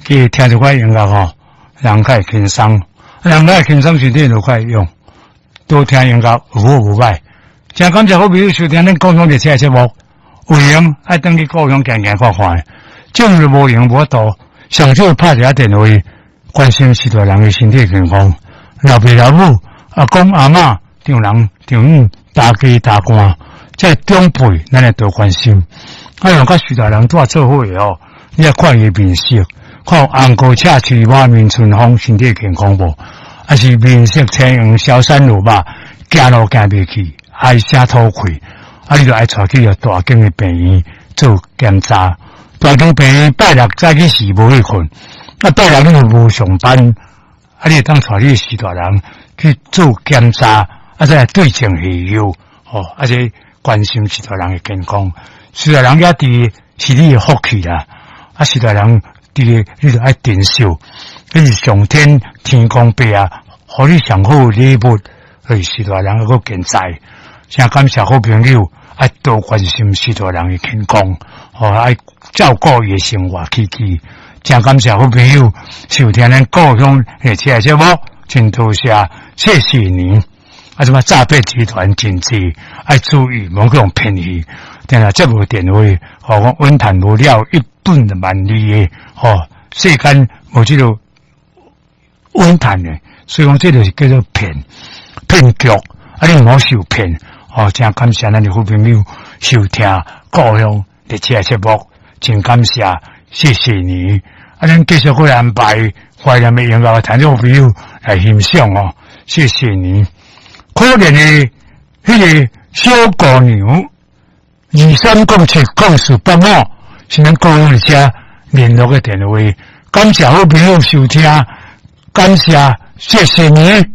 去聽一寡音樂吼，人較會輕鬆，人較會輕鬆，身體就較會用。多聽音樂有好無歹。真感謝好朋友收聽咱故鄉列車的節目，有閒愛轉去故鄉行行看看。終日無閒無法度，上少拍一下電話，關心序大人的身體健康。老爸老母、阿公阿嬤、丈人丈母、大家大官，這長輩咱會多關心。啊，用佮序大人蹛做伙的哦，你愛看伊面色，看紅膏赤喙滿面春風，身體健康無？抑是面色青黃、消瘦如肉，行路行袂去，唉聲吐氣，啊，你就愛帶去大間的病院做檢查。大間病院拜六早起時無去睏，啊，拜六你又無上班，啊，你會當帶你序大人去做檢查，啊，再來對症下藥，吼，啊，這關心序大人的健康。序大人也佇是你的福氣啦，啊，序大人佇你就愛珍惜，這是上天天公伯啊，予你上好的禮物，就是序大人閣健在。真感謝好朋友，愛多關心序大人的健康，吼，愛照顧伊的生活起居。真感謝好朋友收聽咱故鄉列車的節目，真多謝，謝謝你。啊，這擺詐騙集團真濟，愛注意，莫去予騙去。定定接無電話，吼，講穩談無了一本萬利的，吼，世間無這個穩談的，所以講這就是叫做騙騙局，啊，你毋好受騙，吼，真感謝咱的好朋友收聽故鄉列車節目，真感謝，謝謝你。啊，咱繼續過來安排懷念的音樂，聽眾朋友來欣賞哦，謝謝你。可憐的彼個小姑娘，23070485，是咱故鄉列車聯絡的電話。感謝好朋友收聽，感謝，謝謝你。